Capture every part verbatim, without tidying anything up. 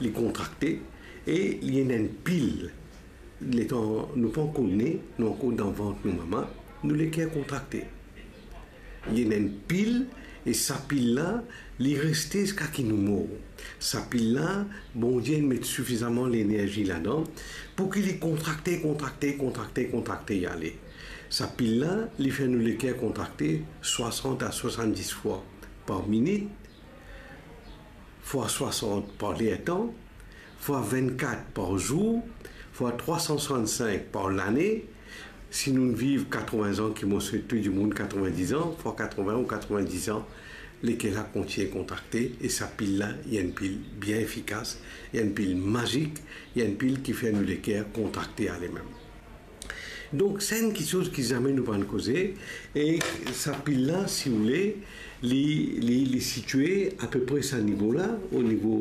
Li kontrakte e li ena enn pil. Letan nou pa ankor ne, nou ankor dan vant nou mama, nou leker kontrakte. Li ena enn pil, e sa pil la, li reste ziska ki nou mor. Sa pil la, Bondie inn met sifizaman lenerzi ladan pou ki li kontrakte, kontrakte, kontrakte, kontrakte, e ale. Sa pil la, li fer nou leker kontrakte swasant a swasanndis fwa par minit, fwa swasant par lertan, fwa vennkat par zour, fwa trwa san swasannsink par lane. Si nou viv katrovin an, ki mo swet tou dimoun katrovin-diz an, fwa katrovin ou katrovin-diz an, leker la kontign kontrakte, e sa pil la, li enn pil bien efikas, li enn pil mazik, li enn pil ki fer nou leker kontrakte ale mem. Donk, sa enn kiksoz ki zame nou pa'nn koze, e sa pil la, si ou le, li, li, li sitie apepre sa nivo la, o nivo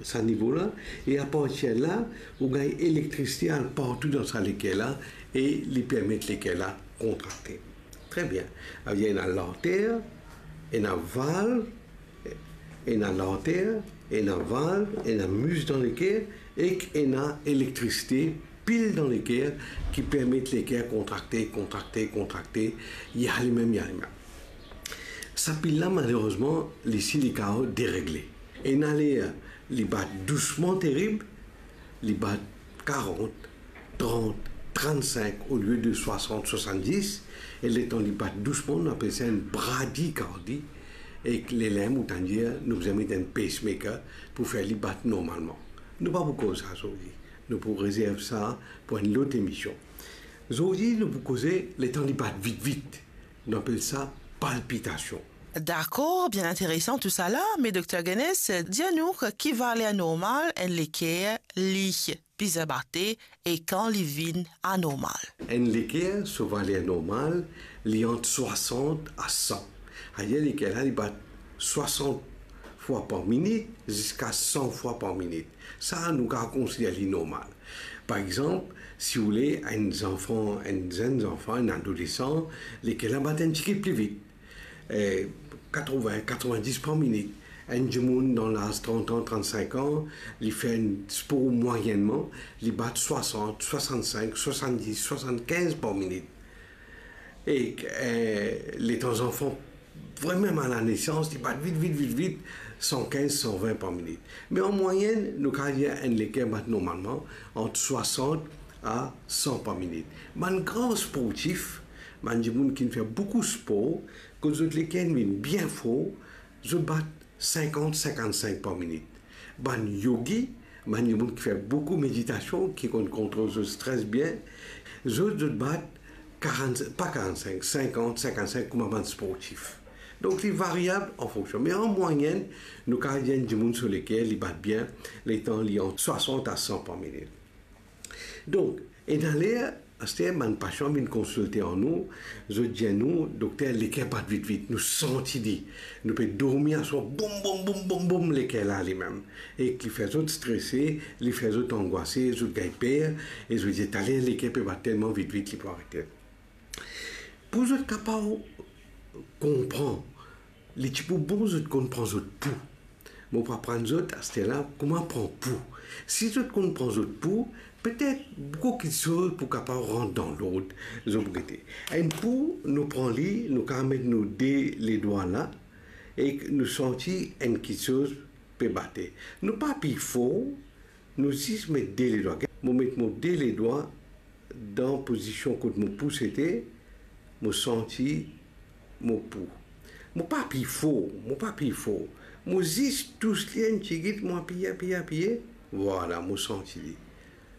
sa nivo la, e apartir la, ou gagn elektrisite al partou dan sa leker la, e li permet leker la kontrakte. Tre bien. Savedir ena larter, ena valv, ena larter, ena valv, ena mis dan leker, ek ena elektrisite pil dan leker ki permet leker kontrakte, kontrakte, kontrakte, li ale mem, li ale mem. Sa pil la, malerezman, li si li kapav deregle. Ena ler li bat dousman terib, li bat karant, trant, trant-sink olie de swasant, swasanndis, e letan li bat dousman, nou apel sa enn bradikardi, e lerla mem ou tann dir, nou bizin met enn pacemaker pou fer li bat normalman. Nou pa pou koz sa zordi. Nou pou rezerv sa pou enn lot emision. Zordi, nou pou koze letan li bat vit vit. Nou apel sa palpitasion. Dakor, bien interesan tousala, me Dokter Guennes, dir nou ki valer normal enn leker li bizin bate e kan li vinn anormal. Enn leker, so valer normal, li ant swasant a san. Savedir leker la, li bat swasant fwa par minit ziska san fwa par minit. Sa, nou kapav konsider li normal. Par exanp, si ou le, enn zanfan, enn zenn zanfan, enn adolesan, leker la bat enn tigit pli vit. Eh, katrovin, katrovin-dis par minit. Enn dimoun dan laz trant an, trant-sink an, li fer enn spor mwayennman, li bat swasant, swasannsink, swasanndis, swasannkinz par minit. E, eh, letan zanfan vremem a lanesans, li bat vit, vit, vit, vit, san kinz, san vin par minit. Me an mwayenn, nou kapav dir enn leker bat normalman ant swasant a san par minit. Bann gran sportif, bann dimoun ki finn fer boukou spor, kot zot leker inn vinn bien for, zot bat sinkant, sinkannsink par minit. Bann yogi, bann dimoun ki fer boukou meditasion, ki konn kontrol zot stres bien, zot, zot bat karant, pa karannsink, sinkant, sinkannsink kouma bann sportif. Donk, li variab an fonksion. Me an mwayenn, nou kapav dir enn dimoun so leker, li bat bien, letan li ant swasant a san par minit. Donk, ena ler, aster bann pasian vinn konsilte ar nou, zot dir nou, "Dokter, leker bat vit vit, nou santi li. Nou pe dormi aswar, boum, boum, boum, boum, boum, leker la ale mem." Ek li fer zot strese, li fer zot angwase, zot gagn per, e zot dir, "Taler leker pe bat telman vit vit, li pou arete." Pou zot kapav konpran, li ti pou bon zot konn pran zot pou. Mo pou aprann zot aster la kouma pran pou. Si zot konn pran zot pou, petet boukou kiksoz pou kapav rant dan lord. Zot pou gete. Enn pou, nou pran li, nou kapav met nou de ledwa la, ek nou santi enn kiksoz pe bate. Nou pa apiy for, nou zis met de ledwa. Mo met mo de ledwa dan pozision kot mo pou sete, mo santi mo pou. Mo pa apiy for, mo pa apiy for. Mo zis tous li enn tigit, mo apiye, apiye, apiye. Vwala, mo santi li.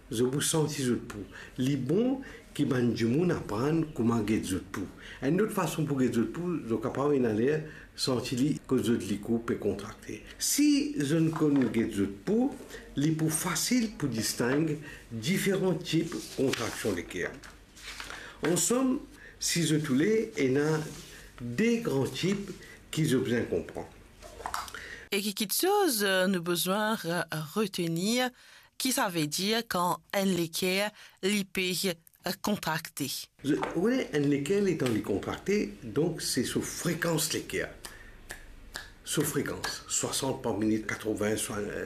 Zot pou santi zot pou. Li bon ki bann dimoun aprann kouma get zot pou. Enn lot fason pou get zot pou, zot kapav ena ler santi li kot zot likou pe kontrakte. Si zot konn get zot pou, li pou fasil pou distang diferan tip kontraksion leker. Ansom, si zot oule, ena de gran tip ki zot bizin konpran. E ki kiksoz, eh, nou bizin re-, retenir, ki savedir kan enn leker li pe, eh, kontrakte? Zot, wi, enn leker letan li kontrakte, donk se so frekans leker. So frekans, swasant par minit, katrovin, swa-,